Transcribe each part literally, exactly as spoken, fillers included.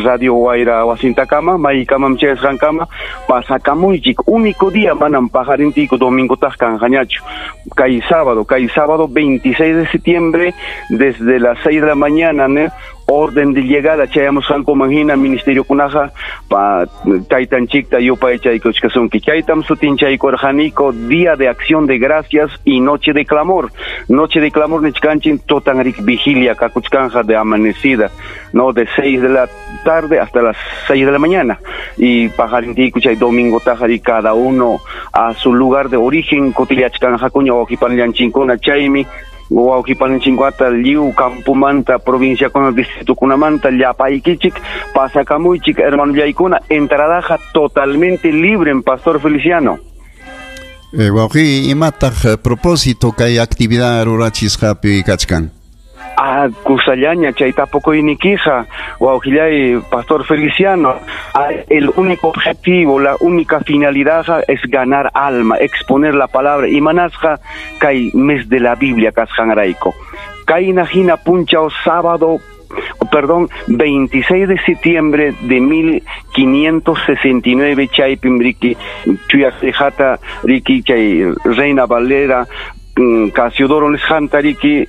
Radio Wayra wasintakama maykamam chayasqankama pasakamuychik. Único día manam paqarintiku domingo taq kanqañachu. Kay sábado, kay sábado veintiséis de septiembre desde las seis de la mañana, ¿no? Orden de llegada chayamusqankuman hina ministerio kunaqa pa taytanchikta yupaychaykuchkasunki. Chaytam sutinchaykurqaniku Día de Acción de Gracias y Noche de Clamor. Noche de Clamor nichkanchik tutanrik vigilia kakuchkanja de amanecida, no, de seis de la tarde hasta las seis de la mañana. Y paqarintiku chay domingo tajari cada uno a su lugar de origen kutillachkanjakuña wawqipanillanchinkuna. Chaymi wawqipaninchinkata lliw campumanta provincia kuna distrito kunamanta llapaykichik pasakamuychik hermanollaykuna. Entradaja totalmente libre en Pastor Feliciano. Eh, wawqi, imataq propósito kay actividad rurachisqapi kachkan? Ah, kusallaña chay tapukuyniykija wawqillay Pastor Feliciano. El único objetivo, la única finalidad es ganar alma, exponer la palabra. Imanasqa kay mes de la Biblia kasqanrayku. Kayna hina punchaw sábado, perdón, veintiséis de septiembre de mil quinientos sesenta y nueve chaypim riki chuyaqhata riki chay Reina Valera Casiodoro nisqanta riki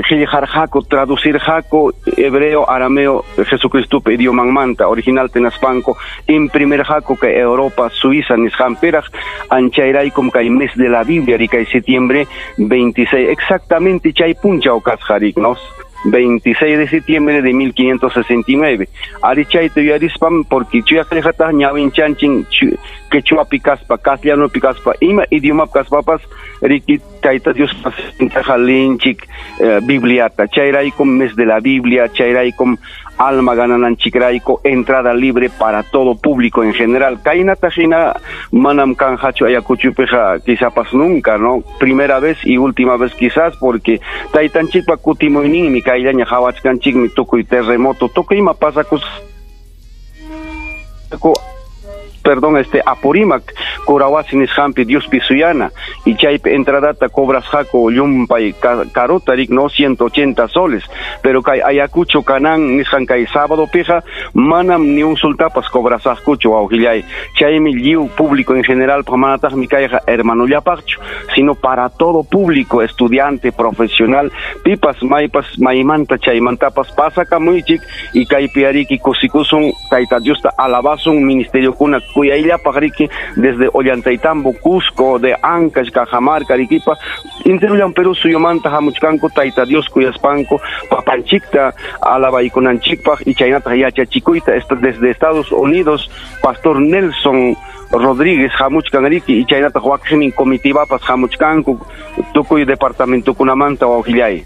qillqarqaku traducirqaku hebreo, arameo, Jesucristupa idiomanmanta original tenaspanku imprimirqaku kay Europa, Suiza nisqanpiraq. Anchayraykum kay mes de la Biblia rikay septiembre veintiséis, exactamente chay punchaw kasqa rik, ¿no? veintiséis de septiembre de mil quinientos sesenta y nueve. Ari chayta yuyarispam porque chuyaqllaqata ñawinchanchik quechuapi kaspa, castellanopi kaspa, ima idiomapi kaspapas riki Tayta Dios linchik eh, Bibliata. Chayraykum mes de la Biblia, chayraykum alma ganananchikrayku, entrada libre para todo público en general. Kaynata hina manam kanjachu Ayacuchupija quizás nunca, ¿no? Primera vez y última vez quizás, porque taytanchikpa kutimuyninmi kayllaña hawachkanchikmi tukuy terremoto, tukuy ima pasakus perdón, este Apurímac, Curahuasi nisqanpi Diospi suyana, y chaypi entradata cobrasqaku llumpay karuta rik, no, ciento ochenta soles, pero kay Ayacucho kanan nisqan kay sábado pija manam ni un sultapas cobrasaqkuchu wawqillay. Chaymi lliw público en general manataqmi kayqa hermanollapaqchu, sino para todo público, estudiante, profesional, pipas maypas maymanta chaymantapas pasakamuychik y kaypi ariki kusikusun Tayta Diosta alabasun ministerio kuna kuyayllapaq riki desde Ollantaytambo, Cusco, de Ancash, Cajamarca, Arequipa, interullan Perú suyumanta hamuchkanku Tayta Dios kuyaspanku papanchikta alabaykunanchikpaq y chaynataq yachachikuyta desde Estados Unidos Pastor Nelson Rodríguez hamuchkan riki y chaynataq wakinnin comitivapas hamuchkanku tukuy departamentokunamanta wawqillay.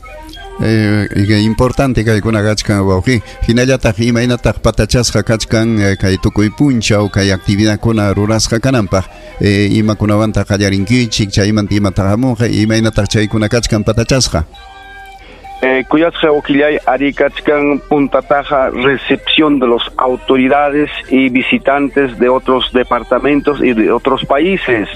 Eh, importante kaykuna kachkan wawqi, hinallataq imaynataq patachasqa kachkan kay tukuy punchaw kay actividadkuna rurasqa kananpaq, eh, imakunawantaq qallarinkichik chaymanta imataq hamunqa imaynataq chaykuna kachkan patachasqa. Eh, kuyasqa wawqillay ari kachkan puntataja recepción de las autoridades y visitantes de otros departamentos y de otros países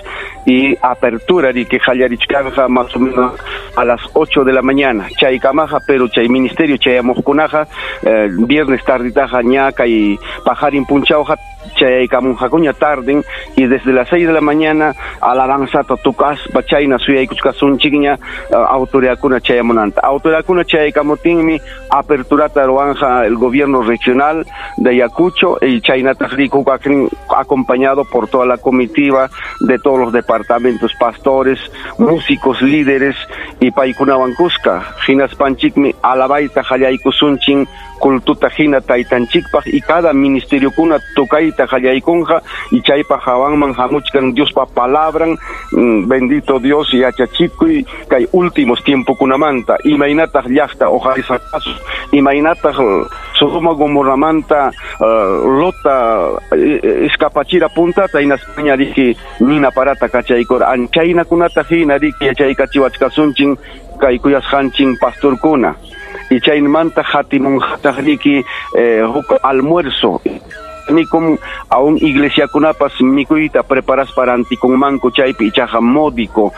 y apertura de que qallarichkanja más o menos a las ocho de la mañana chaykamaja, pero chay ministerio chayamuqkunaqa eh, viernes tarditaja ñaka y pajarin punchawja chayaykamunqakuña tarden y desde las seis de la mañana alabanzata tukaspa chayna suyaykuchkasunchikña uh, autoridadkuna chayamunanta. Autoridadkuna chayaykamutinmi aperturata ruwanja el gobierno regional de Ayacucho y chaynataq rikuqaqrin acompañado por toda la comitiva de todos los departamentos, pastores, músicos, líderes y paykunawan kuska. Hinaspanchikmi alabayta qallaykusunchin kultuta hina taytanchikpaq y cada ministerio kuna tukayta qallaykunqa y chaypa hawanman hamuchkan Diospa palabran, bendito Dios yachachikuy kay últimos tiempokunamanta imaynataq llaqta uqarisqasu imaynataq Sodoma Gomorramanta uh, Lota escapachira puntata hinaspaña riki nina parata kachaykura anchaynakunata hina riki yachaykachiwachkasunchin kay kuyasqanchin pastorkuna y chaymanta hatimunqataq riki eh, huk almuerzo Nikum aún iglesiakunapas mikuyta preparaspa rantikunmanku chaypi ichaqa módico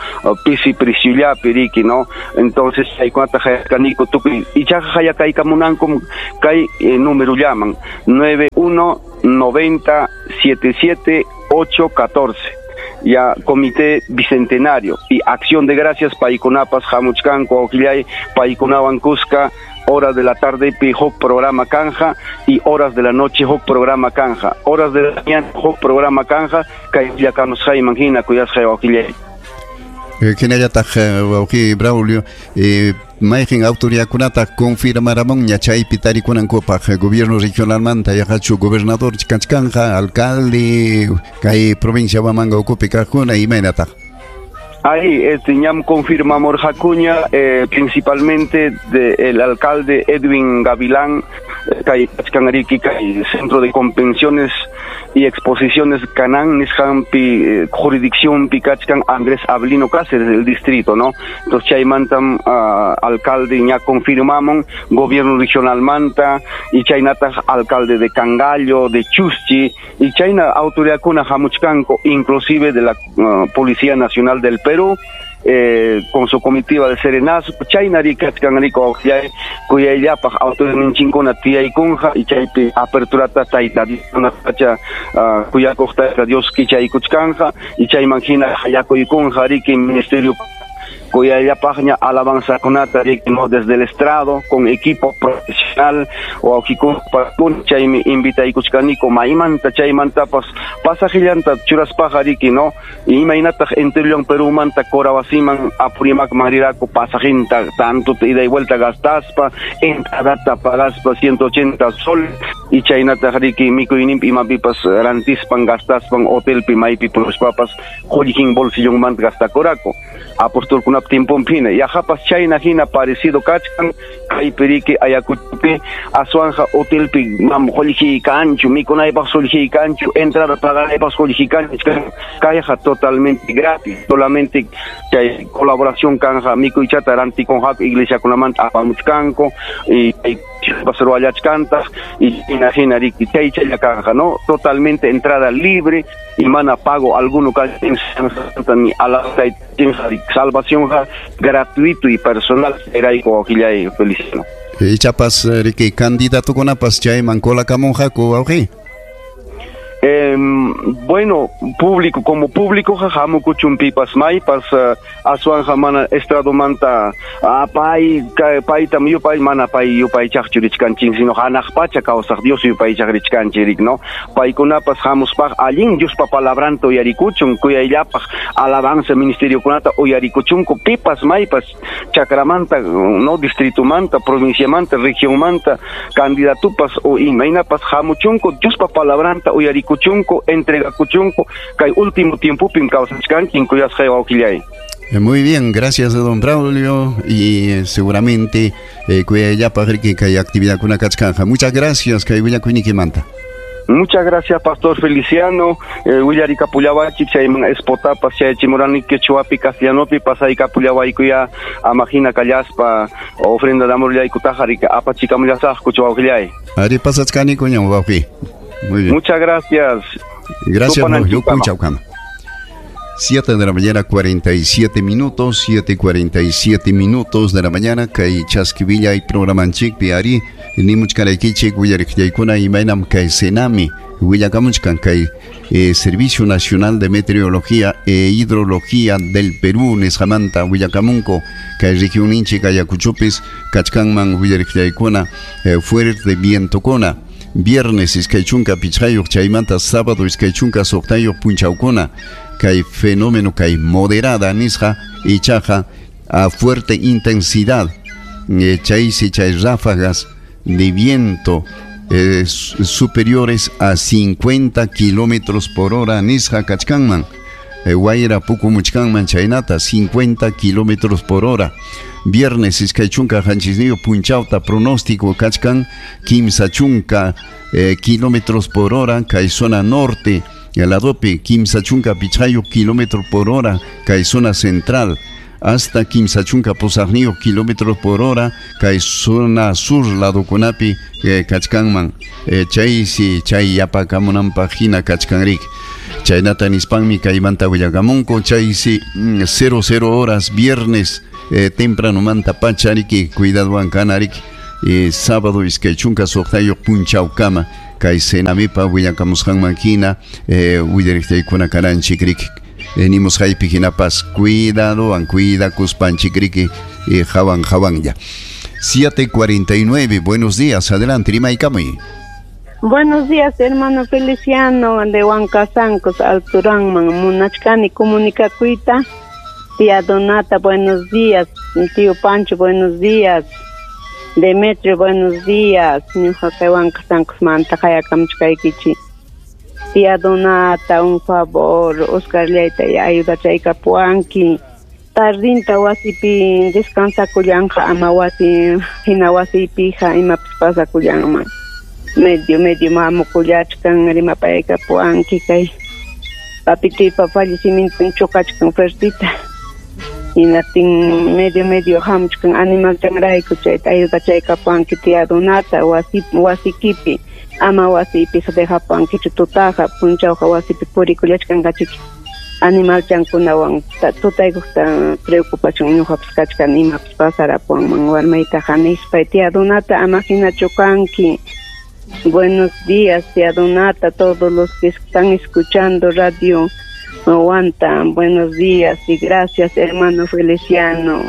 pisi preciullapi riki, no? Entonces chaykunata hayakaniku tukuy ichaqa hayakaykamunankum kay eh, numerullaman nueve uno noventa siete siete ocho catorce. Ya Comité Bicentenario y Acción de Gracias paykunapas hamuchkanku wawqillay paykunawan kuska horas de la tarde pi huk programa kanja y horas de la noche huk programa kanja, horas de la mañana huk programa kanja kay willakamusqayman hina kuyasqay wawqillay. Hinallataq wawqi Braulio, eh, mayqin autoridadkunata confirmaramunña chaypi tarikunankupaq gobierno regionalmanta yaqachu gobernador kachkanja, alcalde kay provincia Huamanga ukupi kaqkuna imaynataq? Ahí, este, ñam confirmamos Jacuña, eh, principalmente de, el alcalde Edwin Gavilán, kay kachkanriki kay Centro de Convenciones y Exposiciones Canán, nisqanpi eh, jurisdicción pi kachkan Andrés Avelino Cáceres del distrito, ¿no? Entonces chaymantam uh, alcalde ña confirmamos, gobierno regional manta, y chaynataq alcalde de Cangallo, de Chuschi, y chayna autoridadkuna hamuchkanku, inclusive de la uh, Policía Nacional del Perú, eh, con su comitiva de serenazgo, chaynari kachkanriko wawqillay kuyayllapaq autoridadninchinkuna tiyaykunqa y chaypi aperturata tayta Dios pacha uh, kuyakuq tayta Dios kichaykuchkanja y chayman hina hayakuykunqa riki ministerio kuyayllapaqña alabanzakunata riki, no, desde el estrado con equipo profesional wawqikuna chaymi invitaykuchkaniku maymanta chaymantapas pasajillanta churaspaqa riki, no, imaynataq enterullan Perumanta Corawasiman Apurímacman riraku pasajinta tanto ida y vuelta gastaspa entradata pagaspa ciento ochenta sol y chaynataq riki mikuyninpi imapipas rantispan gastaspan hotelpi maypi puñuspapas qullqin bolsillonmanta gastakuraku apostolkunap tiemponpina yaqapas chayna hina parecido kachkan kaypi riki Ayacuchopi aswanja hotelpi mam qullqi kanchu mikunaypaq qullqi kanchu entrada paganaypaq qullqi kanchu kayqa totalmente gratis solamente chay colaboración kanja mikuychata rantikunqaku iglesiakunamanta apamuchkanku y ruwallachkantaq y hina hina riki chay chaylla kanja, no, totalmente entrada libre y mana pago alguno ni a la salvación gratuito y personal erayku wawqillay Feliciano. Ichapas riki candidatukunapas chayman colakamunqaku wawqi. Eh, bueno, público, como público hamukuchun pipas maypas uh, aswanja mana estradomanta ah, pay paytam yupay mana pay yupaychaqchu richkanchik sino hanaq pacha kawsaq Dios yupaychaq richkanchik, no, paykunapas hamuspaq allin Diospa palabranta uyarikuchun kuyayllapaq alabanza ministeriokunata uyarikuchunku pipas maypas chakramanta, no, distritumanta provinciamanta regionmanta candidatupas o imaynapas hamuchunku Diospa palabranta uyarikuchunku entregakuchunku kay último tiempopim kawsachkanchik kuyasqay wawqillay. Muy bien, gracias don Braulio y eh, seguramente eh, kuyayllapaq riki kay actividadkuna kachkanja. Muchas gracias kay willakuynikimanta. Muchas gracias, Pastor Feliciano. Eh, willarikapullawachik chayman espotapas chayachimurani quechuapi castellanopi pasaykapullawaykuyá amahina kallaspa ofrenda de amor llaykutaqa riki apachikamullasaqku wawqillay. Ari pasachkanikuñam wawqi. Muy bien. Muchas gracias. Gracias, Chaucama. siete de la mañana, cuarenta y siete minutos, siete cuarenta y siete minutos de la mañana, kay chaskivillay programanchikpi ari, nimuchkaraykichik willariqllaykuna imaynam kay Senami, willakamuchkan kay eh, Servicio Nacional de Meteorología e Hidrología del Perú nisqamanta willakamunku kay regionninchik Ayacuchopis kachkanman willariqllaykuna eh, fuerte vientokuna. Viernes iskay chunka pichqayuq chaymanta sábado iskay chunka suqtayuq punchawkuna kay fenómeno kay moderada nisqa ichaqa a fuerte intensidad eh, chaysi chay ráfagas de viento eh, superiores a cincuenta kilómetros por hora nisqa kachkanman eh, wayra pukumuchkanman chaynata cincuenta kilómetros por hora. Viernes iskay chunka qanchisniyuq punchawta pronóstico kachkan kimsa chunka eh, kilómetros por hora kay zona norte ladopi kimsa chunka pichqayuq kilómetros por hora kay zona central. hasta kimsa chunka pusaqniyuq kilómetros por hora kay zona sur ladokunapi eh, kachkanman eh, chaysi chay yapakamunanpaq hina kachkanriki chaynata nispanmi kaymanta willakamunku chaysi mm, cero cero horas viernes eh, tempranomanta pacha riki cuidadowan kana riki eh, sábado iskay chunka suqtayuq punchawkama kay Senamipa willakamusqanman hina eh, willariqtaykuna kananchik riki eh, nimusqaypi hinapas cuidadowan cuidakuspanchik riki eh, hawan hawanlla. siete cuarenta y nueve, buenos días, adelante, rimaykamuy. Buenos días, hermano Feliciano, de Huancasancos, Alturanman, munachkani comunicakuyta. Tía Donata, buenos días. Tío Pancho, buenos días. Demetrio, buenos días. Ñuqa kay Huancasancos manta qayakamchkaykichik. Tía Donata, un favor, Oscar llayta ayudachaykapuwanki. Tardinta wasipi descansakullanqa, ama wasi hina wasipija imapas pasakullanman. Medio, medio mamukullachkan rimapaykapuwanki kay papituypa fallecimienton chukachkan fuertita. Hinaptin medio, medio hamuchkan animalchanrayku chayta ayudachaykapuwanki tía Donata wasi wasikipi ama wasipi dejapuwankichu tutaqa punchawqa wasipi purikullachkanqachiki animalchankunawan tutaykuqta preocupación ñuqapas kachkan imapas pasarapuwanman warmaytaqa nispay tía Donata ama hinachu kanki. Buenos días, tía Donata, todos los que están escuchando Radio Huanta, buenos días y gracias, hermano Feliciano.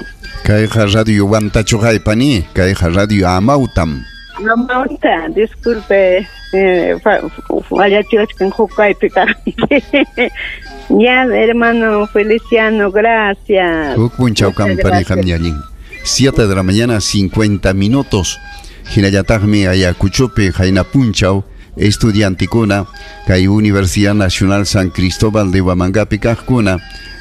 Kayqa Radio Huantachu haypani, kayqa Radio Amautam. Amauta, disculpe, eh, fallachiwachkan hukaypi kaqti. Ya, hermano Feliciano, gracias. Huk punchaw kampa ñañin. Siete de la mañana, cincuenta minutos. Hinallataqmi Ayacuchopi hayna punchaw estudiantikuna kay Universidad Nacional San Cristóbal de Huamangapi kaqkuna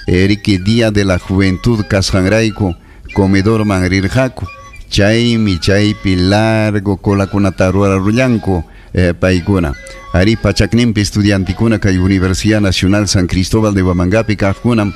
eriki Día de la Juventud kasqanrayku comedorman rirqaku chaymi chaypi largo colakunata rurarullanku eh, paykuna ari pachakninpi estudiantikuna kay Universidad Nacional San Cristóbal de Huamangapi kaqkunam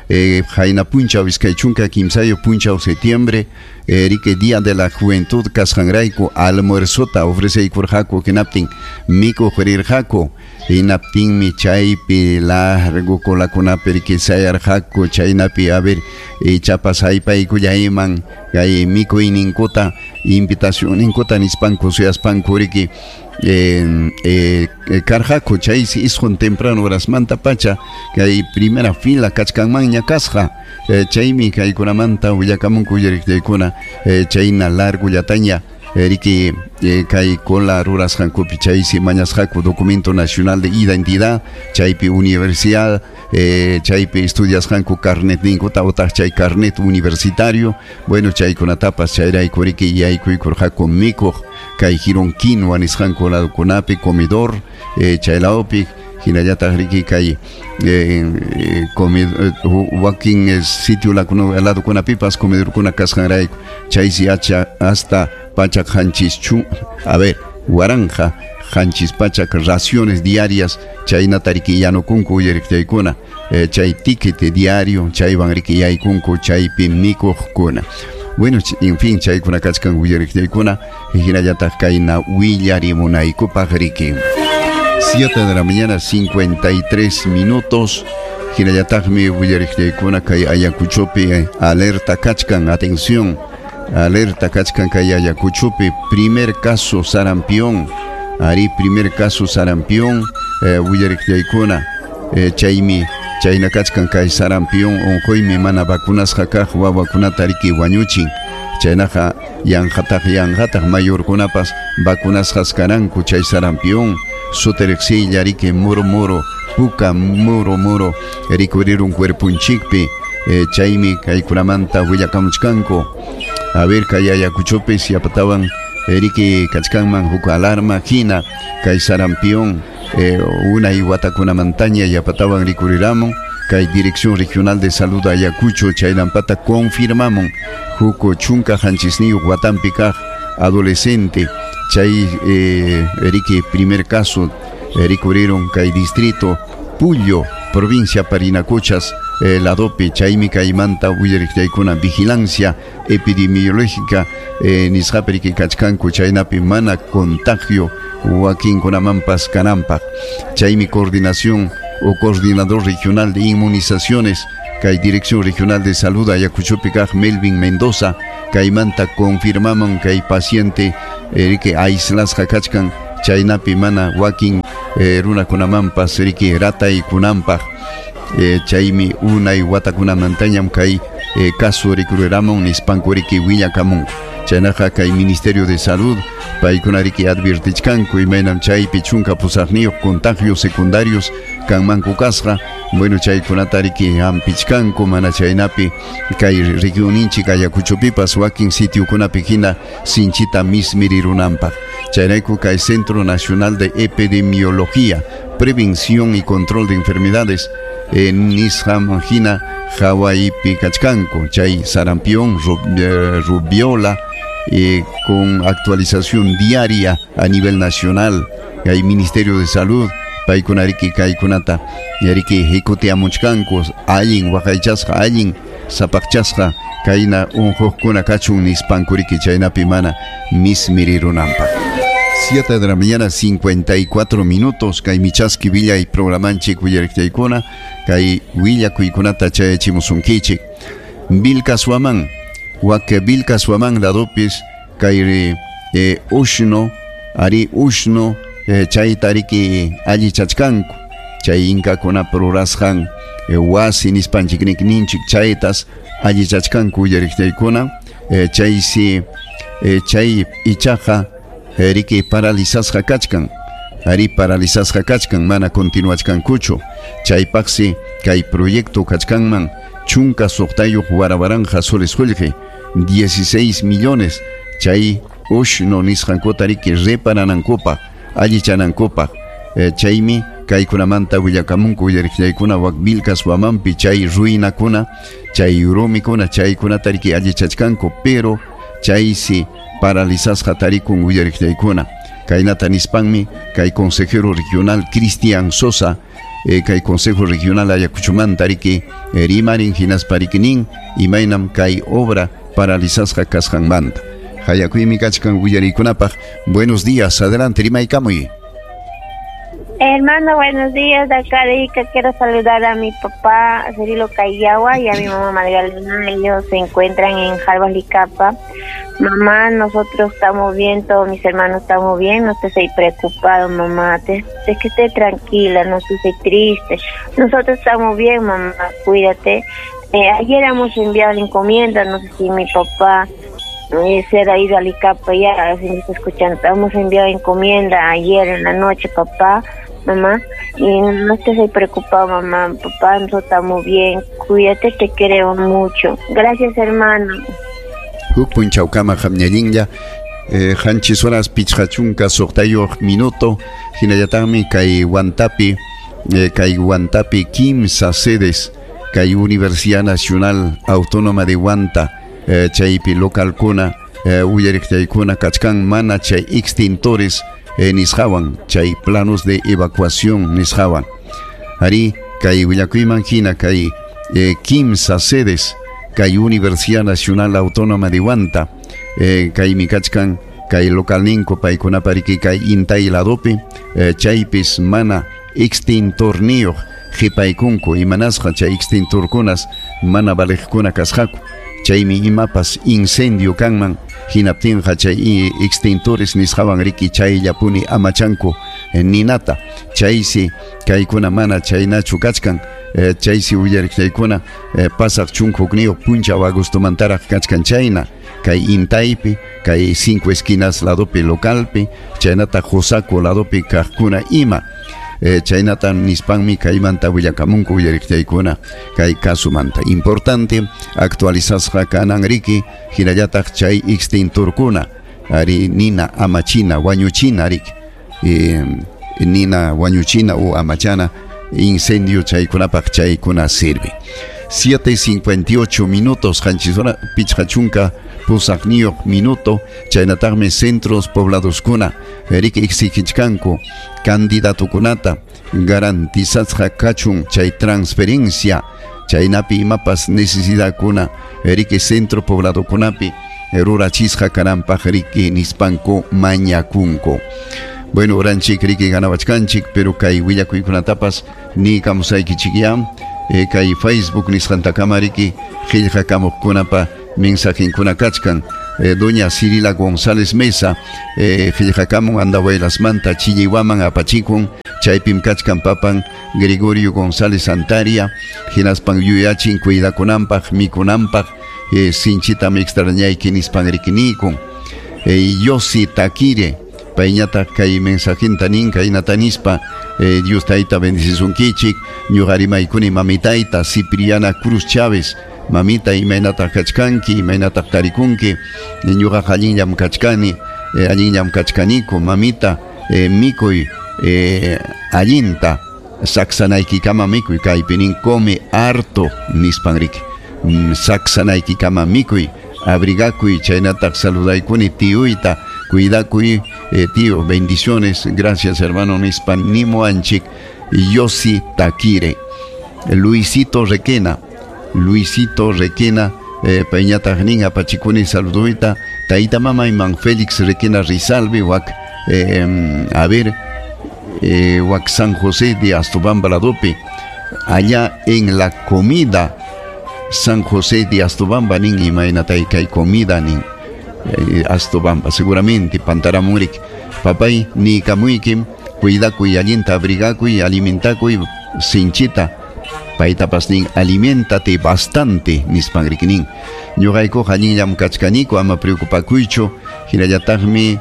Eh, hayna punchaw iskay chunka kimsayo punchaw septiembre erike Día de la Juventud kasqanrayku almuerzota ofreceykurqaku hinaptin mikuq rirqaku hinaptinmi chaypi largo colakunapi riki sayarqaku chaynapi a ver ichapas haypaykullayman kay mikuyninkuta invitacionninkuta nispanku suyaspanku riki Eh, eh, karqaku chaysi isqun temprano horasmanta pacha kay primera fila kachkanmanña kasqa eh, chaymi kaykunamanta willakamunku willariqtaykuna eh, chayna largullataña riki eh, kay cola rurasqankupi chaysi mañasqaku documento nacional de identidad chaypi universidad eh, chaypi estudiasqanku carnet ninkuta utaq chay carnet universitario bueno chaykunatapas chayrayku riki yaykuykurqaku mikuq kay jirón quinua nisqanku ladukunapi comedor eh, chaylawpi hinallataq riki kay eh, eh, comed, eh, wakin eh, sitio ladukunapipas comedorkuna kasqanrayku chaysi hacha hasta pachak hanchis chu a ver waranja hanchis pachak raciones diarias chaynata riki yanukunku uyariqtaykuna eh, chay ticket diario chaywan riki yaykunku chaypi mikuqkuna. Bueno, en fin, chaykuna kachkan uyariqtaykuna hinallataq kayna willarimunaykupaq riki. Siete de la mañana, cincuenta y tres minutos. Hinallataqmi willariqtaykuna kay Ayacuchopi eh, alerta kachkan, atención, alerta kachkan kay Ayacuchopi, primer caso sarampión, ari primer caso sarampión, eh, willariqtaykuna, eh, chaymi chayna kachkan kay sarampión unquymi mana vacunasqa kaq wawakunata riki wañuchin. Chaynaqa yanqataq yanqataq mayorkunapas vacunasqas karanku chay sarampión sutiriqsilla riki muro muro puka muro muro rikurirun cuerpunchikpi eh, chaymi kaykunamanta willakamuchkanku. A ver kay Ayacuchopi siapatawan riki kachkanman huk alarma hina kay sarampión eh, unay watakunamantaña yapatawan rikuriramun kay Dirección Regional de Salud Ayacucho chaynampata confirmamun huk chunka hanchisniyuq watampi kaq adolescente chay eh, riki primer caso rikurirun kay distrito Pullo, provincia Parinacochas, eh, ladopi chaymi kaymanta willariqtaykuna vigilancia epidemiológica eh, nisqapi riki kachkanku chaynapi mana contagio wakinkunamanpas kananpaq chaymi coordinación o coordinador regional de inmunizaciones kay Dirección Regional de Salud Ayacuchopi kaq Melvin Mendoza kaymanta confirmaman kay paciente eh, riki aislasqa kachkan chaynapi mana wakin eh, runakunamanpas riki rataykunanpaq eh, chaymi unay watakunamantañam kay eh, caso rikuriramun nispanku riki willakamunku chaynaqa kay Ministerio de Salud paykuna riki advirtichkanku imaynam chaypi chunka pusaqniyuq contagios secundarios kanmanku kasqa bueno chaykunata riki hampichkanku mana chaynapi kay regionninchik Ayacuchopipas wakin sitiokunapi hina sinchita mismirirunanpaq chayrayku kay Centro Nacional de Epidemiología, Prevención y Control de Enfermedades eh, nisqaman hina hawaipi kachkanku chay sarampión, rubiola eh, con actualización diaria a nivel nacional hay Ministerio de Salud paykuna riki kaykunata riki hikutiamuchkanku allin waqaychasqa allin sapaqchasqa kayna unquqkuna kachun nispanku riki chaynapi mana mismirirunanpaq. siete de la mañana cincuenta y cuatro minutos kay michaski villa y programanchik willariqtaykuna kay willakuykunata chayachimusunkichik Vilcashuamán wak Vilcashuamán ladopis kay eh, ushno ari ushno eh, chayta riki allichachkanku chay inkakuna rurasqan eh, wasi nispanchik ninchik chaytas allichachkanku willariqtaykuna eh, chaysi eh, chay ichaqa eh, riki paralizasqa kachkan ari paralizasqa kachkan mana continuachkankuchu chaypaqsi kay proyecto kachkanman chunka suqtayuq warawaranja soles qullqi dieciséis millones chay ushno nisqankuta riki reparanankupaq allichanankupaq eh, chaymi kaykunamanta willakamunku willariqllaykuna wak Vilcashuamanpi chay ruinakuna chay rumikuna chaykunata riki allichachkanku pero chaysi paralizasqa tarikun willariqllaykuna kaynata nispanmi kay consejero regional Cristian Sosa eh, kay consejo regional Ayacuchomanta riki eh, rimarin hinaspa riki nin imaynam kay obra paralizasqa kasqanmanta hayakuymi kachkan willariykunapaq. Buenos días, adelante rimaykamuy. Hermano, buenos días. De acá de Ica quiero saludar a mi papá Cirilo Cayawa y a mi mamá Magdalena. Ellos se encuentran en Jalvalicapa. Mamá, nosotros estamos bien, todos mis hermanos estamos bien. No estés preocupado, mamá. Te, es que esté tranquila, no estés triste. Nosotros estamos bien, mamá, cuídate. Eh, ayer hemos enviado la encomienda, no sé si mi papá eh, se ha ido a Licapa ya, si me está escuchando. Hemos enviado encomienda ayer en la noche, papá, mamá, y no estés ahí preocupado, mamá, papá, nosotros estamos bien, cuídate, te queremos mucho. Gracias, hermano. Huk punchawkama hamñallinlla eh, qanchis horas pichqa chunka suqtayuq minuto hinallataqmi kay Huantapi eh, kay Huantapi kimsa sedes kay Universidad Nacional Autónoma de Huanta eh, chaypi localkuna eh, uyariqtaykuna kachkan mana chay extintores eh, nisqawan chay planos de evacuación nisqawan ari kay willakuyman hina kay eh, kimsa sedes kay Universidad Nacional Autónoma de Huanta eh, kaymi kachkan kay localninko paykunapa riki kay Intay ladopi eh, chaypis mana extintorniyuq qhipaykunku imanasqa chay extintorkunas mana valiqkuna kasqaku chaymi imapas incendio kanman hinaptinqa chay extintores nisqawan riki chayllapuni amachanku eh, ninata chaysi kaykuna mana chaynachu kachkan eh, chaysi willariqtaykuna eh, pasaq chunka hukniyuq punchaw agostomantaraq kachkan chayna kay Intaypi kay cinco esquinas ladopi localpi chaynata Josaco ladopi kaqkuna ima eh, chaynata nispanmi kaymanta willakamunku willariqtaykuna kay kasumanta importante actualizasqa kanan riki hinallataq chay extintorkuna ari nina amachina wañuchina riki eh, nina wañuchina o amachana incendio chaykunapaq chaykuna sirve. siete cincuenta y ocho minutos qanchis hora pichqa chunka pusaqniyuq minuto chaynataqmi centros pobladoskuna riki exigichkanku candidatukunata garantizasqa kachun chay transferencia Chaynapi imapas necesidadkuna riki centro pobladokunapi rurachisqa kananpaq riki nispanku mañakunku. Bueno, oranchik riki ganawachkanchik, pero kay willakuykunatapas ni kamusaykichik eh, kay Facebook nisqantakama riki qillqakamuqkunapa mensajinkuna kachkan. Eh, doña Cirila González Mesa eh, qillqakamun Andahuaylasmanta Chilliwaman apachikun chaypim kachkan papan Gregorio González Antaria hinaspan yuyachin cuidakunanpaq mikunanpaq eh, sinchitam extrañayki nispan rikinikun. Eh, Yossi Taquire payñataq kay mensajinta nin kaynata nispa eh, Dios tayta bendicisunkichik ñuqa rimaykuni mamitayta Cipriana Cruz Chávez mamita imaynataq kachkanki imaynataq tarikunki ñuqaqa allinllam kachkani eh, allinllam kachkaniku mamita eh, mikuy eh, allinta saksanaykikama mikuy kaypi nin come harto nispan riki mm, saksanaykikama mikuy abrigakuy chaynataq saludaykuni tiyuyta cuidakuy eh, tío, bendiciones, gracias hermano nispan nimuanchik. Yossi Taquire. Luisito Requena Luisito Requena eh, payñataq nin apachikuni saluduyta tayta mamayman Félix Requena Rizalbe wak eh, a ver eh, wak San José de Astobamba ladopi allá en la comida San José de Astobamba nin imaynatay kay comida nin eh, Astobamba seguramente pantaramurik papay ni kamuykim cuidakuy allinta abrigakuy alimentakuy sinchita paytapas nin alimentate bastante nispan riki nin ñuqaykuqa allinllam kachkaniku ama preocupakuychu hinallataqmi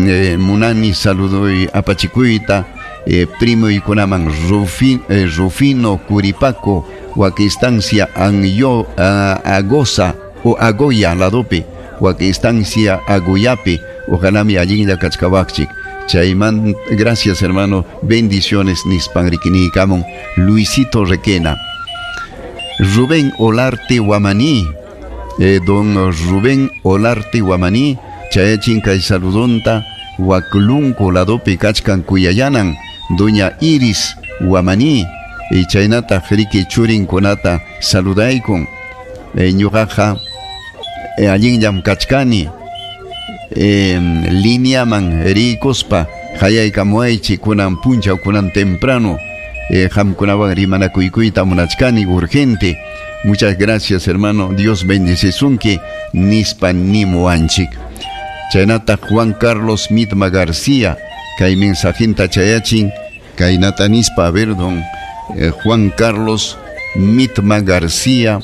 eh, munani saludoy apachikuyta eh, primuykunaman Rufi, eh, Rufino Curipaco wak estancia Anyo, uh, Agosa o Agoya ladopi wak estancia Agoyapi ojalá mi allinlla kachkawaqchik chayman gracias hermano bendiciones nispan rikiniykamun Luisito Requena. Rubén Olarte Guamaní eh, don Rubén Olarte Guamaní chayachin kay saludonta waklunku ladopi kachkan kuyayanan doña Iris Guamaní y chaynataq riki churinkunata saludaykun eh, ñuqaqa eh, allinllam kachkani eh, lineaman rikuspa hayaykamuaychik kunan punchaw kunan temprano eh, qamkunawan rimanakuykuyta munachkani urgente. Muchas gracias hermano, Dios bendecisunki nispa nimuanchik. Chaynataq Juan Carlos Mitma García kay mensajinta chayachin kaynata nispa a ver don eh, Juan Carlos Mitma García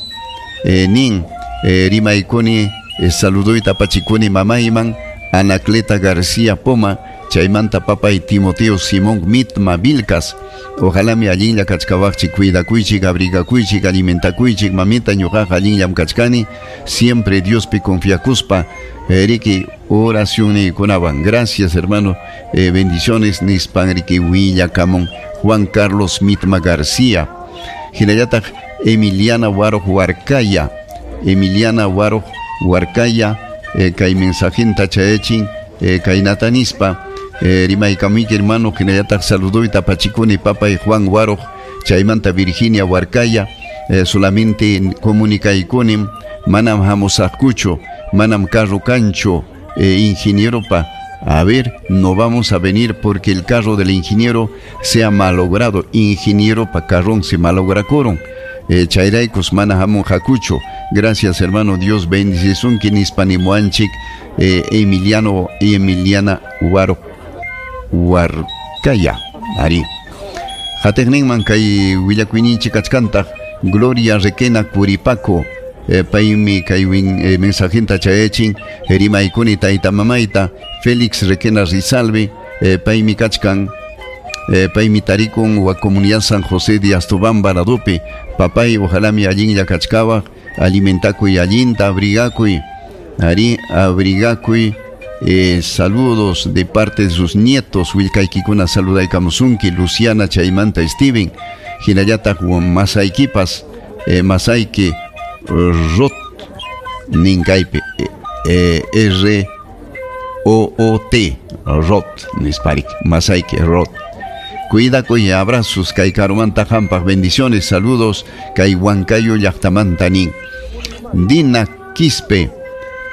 eh, nin eh, rimaykuni eh, saluduyta apachikuni mamayman Anacleta García Poma chaymanta papay Timoteo Simón Mitma Vilcas ojalá mi allinlla kachkawaqchik cuidakuychik abrigakuychik alimentakuychik mamita ñuqaqa allinllam kachkani siempre Diospi confiakuspa eh, riki oracionniykunawan gracias hermano eh, bendiciones nispan riki willakamun Juan Carlos Mitma García. Hinallataq Emiliana Waruq Huarcaya Emiliana Waruq Huarcaya eh, kay mensajinta chayachin eh, kaynata nispa eh, rimaykamuyki hermano hinallataq saluduyta apachikuni papay Juan Waruq chaymanta Virginia Huarcaya eh, solamente comunicaykunim manam hamusaqkuchu manam carro cancho eh, ingenieropa a ver, no vamos a venir porque el carro del ingeniero se ha malogrado. Ingeniero pa carrón se malograkoron. Eh, chayraykus mana hamun hakucho. Gracias hermano, Dios bendicisunki nispa nimuanchik eh, Emiliano y Emiliana Huaro Huarcaya. Ari. Qatiqninman kay willakuyninchik kachkantaq Gloria Requena Curipaco eh, paymi kay eh, mensajinta chayachin rimaykuni tayta mamayta Félix Requena Rizalbe eh, paymi kachkan eh, paymi tarikun wa comunidad San José de Astobamba ladopi papay ojalá mi allinlla kachkawaq alimentakuy allinta abrigakuy ari abrigakuy eh, saludos de parte de sus nietos willkaykikuna saludaykamusunki Luciana chaymanta Steven hinallataq masaykipas eh, masayki Rot ninkaypi eh, R O O T Rot nisparik masayki Rot Cuidakuy, abrazos kay karumanta hampaq, bendiciones, saludos kay Huancayo llaqtamanta nin. Dina Quispe,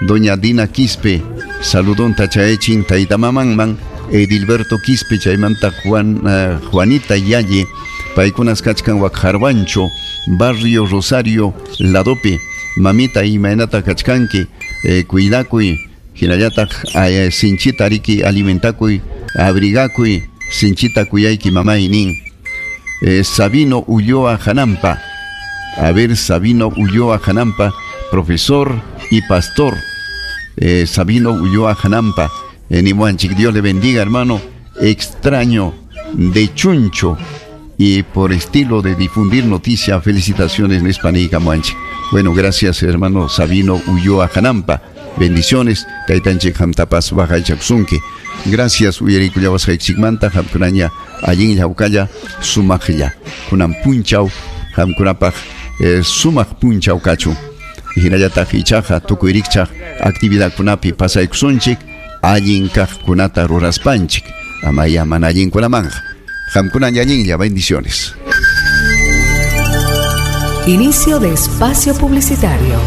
doña Dina Quispe, saludonta chayachin tayta mamanman Edilberto Quispe chaymanta Juan, uh, Juanita Yalle, paykunas kachkan Wakjarwancho, barrio Rosario ladopi. Mamita imaynata kachkanki, eh, cuidakuy, hinallataq eh, sinchita riki alimentakuy, abrigakuy, sinchita kuyayki mamay nin. Eh, Sabino Ulloa Janampa, a ver, Sabino Ulloa Janampa, profesor y pastor. Eh, Sabino Ulloa Janampa, en Imuanchik, Dios le bendiga, hermano. Extraño de Chuncho y por estilo de difundir noticia, felicitaciones Nespanica Muanchik. Bueno, gracias, hermano Sabino Ulloa Janampa. Bendiciones, Taytanchik hamtapas waqaychaksunki. Gracias, uyarikullawasqaychikmanta, hamkunaña allinlla hawkalla sumaqlla. Kunan punchaw hamkunapaq eh, sumaq punchaw kachun. Hinallataq ichaqa tukuy rikchaq actividadkunapi pasaykusunchik, allin kaqkunata ruraspanchik. Amaya mana allinkunamanqa. Hamkunaña allinlla, bendiciones. Inicio de espacio publicitario.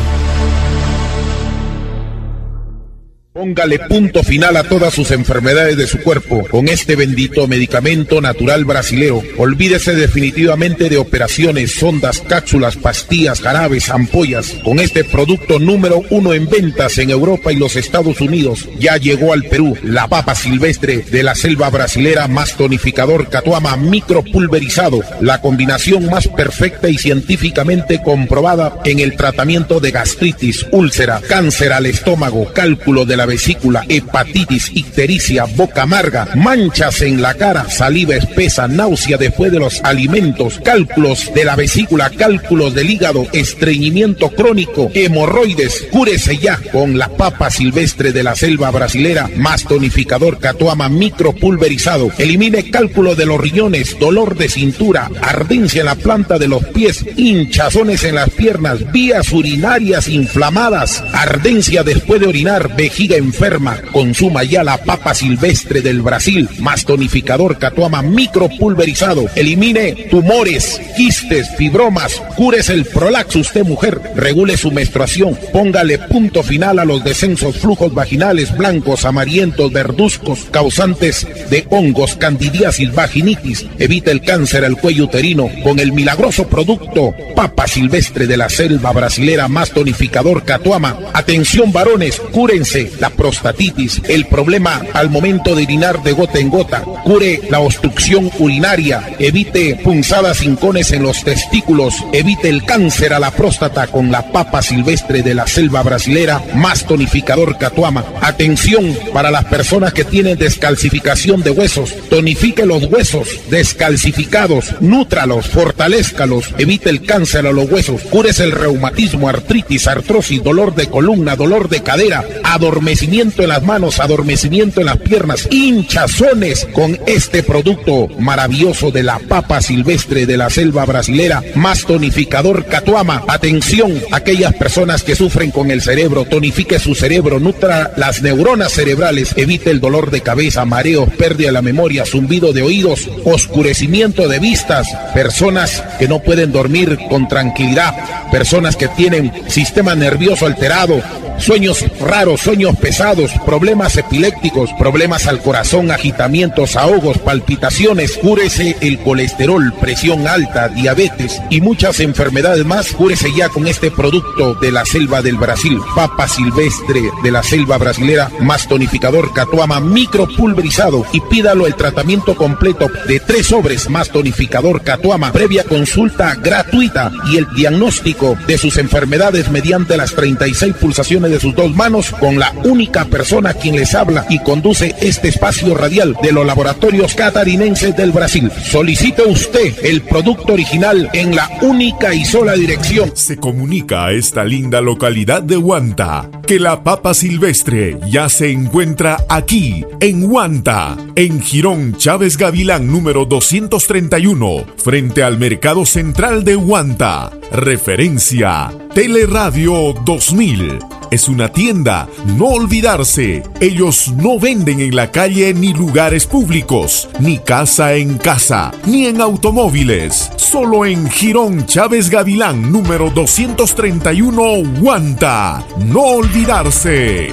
Póngale punto final a todas sus enfermedades de su cuerpo con este bendito medicamento natural brasilero. Olvídese definitivamente de operaciones, sondas, cápsulas, pastillas, jarabes, ampollas. Con este producto número uno en ventas en Europa y los Estados Unidos, ya llegó al Perú la papa silvestre de la selva brasilera más tonificador Catuama micropulverizado, la combinación más perfecta y científicamente comprobada en el tratamiento de gastritis, úlcera, cáncer al estómago, cálculo de la vesícula, hepatitis, ictericia, boca amarga, manchas en la cara, saliva espesa, náusea después de los alimentos, cálculos de la vesícula, cálculos del hígado, estreñimiento crónico, hemorroides. Cúrese ya con la papa silvestre de la selva brasilera más tonificador Catuama micropulverizado. Elimine cálculo de los riñones, dolor de cintura, ardencia en la planta de los pies, hinchazones en las piernas, vías urinarias inflamadas, ardencia después de orinar, vejiga enferma. Consuma ya la papa silvestre del Brasil más tonificador Catuama micropulverizado. Elimine tumores, quistes, fibromas, cúrese el prolaxo usted mujer, regule su menstruación, póngale punto final a los descensos, flujos vaginales blancos, amarillentos, verduzcos, causantes de hongos, candidiasis, vaginitis. Evite el cáncer al cuello uterino con el milagroso producto papa silvestre de la selva brasilera más tonificador Catuama. Atención varones, cúrense la prostatitis, el problema al momento de orinar de gota en gota, cure la obstrucción urinaria, evite punzadas hincones en los testículos, evite el cáncer a la próstata con la papa silvestre de la selva brasilera más tonificador Catuama. Atención para las personas que tienen descalcificación de huesos, tonifique los huesos descalcificados, nútralos, fortalézcalos, evite el cáncer a los huesos, cúrese el reumatismo, artritis, artrosis, dolor de columna, dolor de cadera, adormecimiento en las manos, adormecimiento en las piernas, hinchazones con este producto maravilloso de la papa silvestre de la selva brasilera más tonificador Catuama. Atención, aquellas personas que sufren con el cerebro, tonifique su cerebro, nutra las neuronas cerebrales, evite el dolor de cabeza, mareos, pérdida de la memoria, zumbido de oídos, oscurecimiento de vistas, personas que no pueden dormir con tranquilidad, personas que tienen sistema nervioso alterado, sueños raros, sueños pesados, problemas epilépticos, problemas al corazón, agitamientos, ahogos, palpitaciones. Cúrese el colesterol, presión alta, diabetes y muchas enfermedades más. Cúrese ya con este producto de la selva del Brasil, papa silvestre de la selva brasilera más tonificador Catuama micropulverizado, y pídalo el tratamiento completo de tres sobres más tonificador Catuama, previa consulta gratuita y el diagnóstico de sus enfermedades mediante las treinta y seis pulsaciones de sus dos manos, con la única persona quien les habla y conduce este espacio radial de los laboratorios catarinenses del Brasil. Solicite usted el producto original en la única y sola dirección. Se comunica a esta linda localidad de Huanta que la papa silvestre ya se encuentra aquí, en Huanta, en Jirón Chávez Gavilán número doscientos treinta y uno, frente al Mercado Central de Huanta. Referencia Teleradio dos mil. Es una tienda. No olvidarse, ellos no venden en la calle ni lugares públicos, ni casa en casa, ni en automóviles. Solo en Jirón Chávez Gavilán, número doscientos treinta y uno, Huanta. No olvidarse.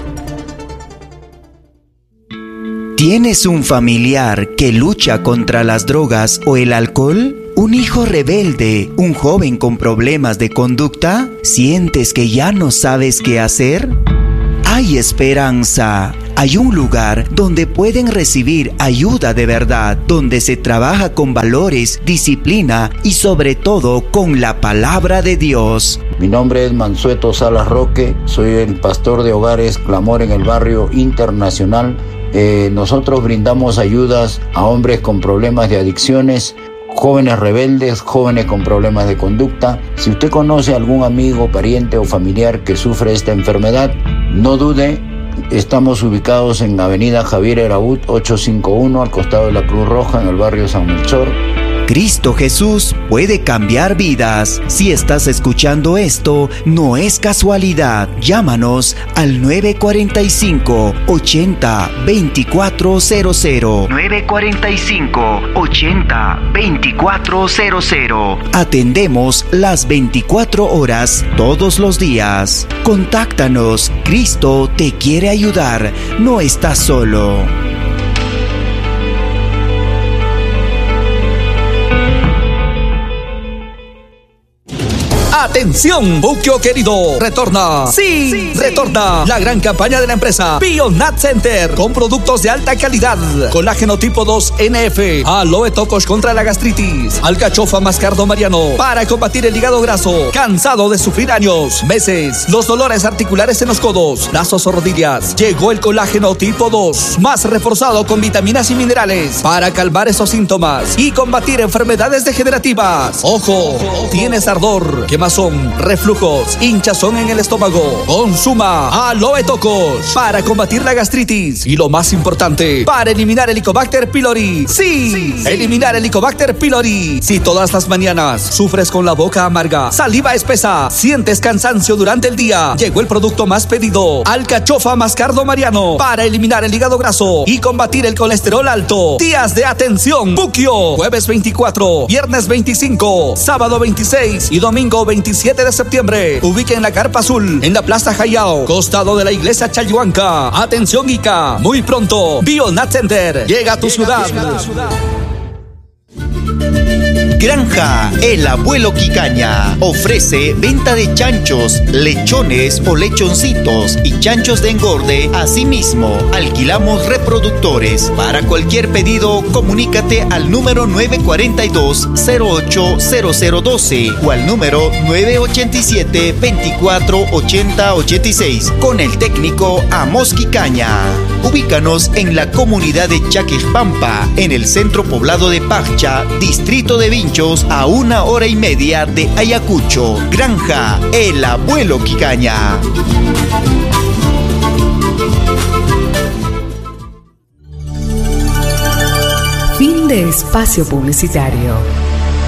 ¿Tienes un familiar que lucha contra las drogas o el alcohol? ¿Un hijo rebelde? ¿Un joven con problemas de conducta? ¿Sientes que ya no sabes qué hacer? Hay esperanza. Hay un lugar donde pueden recibir ayuda de verdad, donde se trabaja con valores, disciplina y sobre todo con la palabra de Dios. Mi nombre es Mansueto Salas Roque, soy el pastor de Hogares Clamor en el Barrio Internacional. Eh, nosotros brindamos ayudas a hombres con problemas de adicciones, jóvenes rebeldes, jóvenes con problemas de conducta. Si usted conoce a algún amigo, pariente o familiar que sufre esta enfermedad, no dude. Estamos ubicados en Avenida Javier Eraut ochocientos cincuenta y uno, al costado de la Cruz Roja, en el barrio San Melchor. Cristo Jesús puede cambiar vidas. Si estás escuchando esto, no es casualidad. Llámanos al nueve cuarenta y cinco, ochenta, veinticuatro cero cero. nueve cuarenta y cinco, ochenta, veinticuatro cero cero. Atendemos las veinticuatro horas todos los días. Contáctanos. Cristo te quiere ayudar. No estás solo. ¡Atención, Buquio querido! ¡Retorna! ¡Sí! sí ¡Retorna! La gran campaña de la empresa Bionat Center con productos de alta calidad. Colágeno tipo dos N F, aloe tocos contra la gastritis, alcachofa mascardo mariano para combatir el hígado graso, cansado de sufrir años, meses, los dolores articulares en los codos, brazos o rodillas. Llegó el colágeno tipo dos, más reforzado con vitaminas y minerales para calmar esos síntomas y combatir enfermedades degenerativas. ¡Ojo! Tienes ardor, quemazón, reflujos, hinchazón en el estómago. Consuma aloe tocos para combatir la gastritis y lo más importante, para eliminar el Helicobacter pylori. Sí, sí, eliminar el Helicobacter pylori. Si todas las mañanas sufres con la boca amarga, saliva espesa, sientes cansancio durante el día, llegó el producto más pedido, alcachofa mascardo mariano, para eliminar el hígado graso y combatir el colesterol alto. Días de atención, Buquio, jueves veinticuatro, viernes veinticinco, sábado veintiséis y domingo veintisiete de septiembre. Ubique en la Carpa Azul, en la Plaza Jayao, costado de la Iglesia Chayhuanca. Atención Ica, muy pronto, Bionat Center llega a tu ciudad. Granja El Abuelo Quicaña ofrece venta de chanchos, lechones o lechoncitos y chanchos de engorde. Asimismo, alquilamos reproductores. Para cualquier pedido, comunícate al número nueve cuarenta y dos, cero ocho cero cero doce o al número nueve ochenta y siete, veinticuatro ochenta ochenta y seis con el técnico Amos Quicaña. Ubícanos en la comunidad de Chaquejpampa, en el centro poblado de Paccha, distrito de Vinchos, a una hora y media de Ayacucho. Granja El Abuelo Quicaña. Fin de espacio publicitario.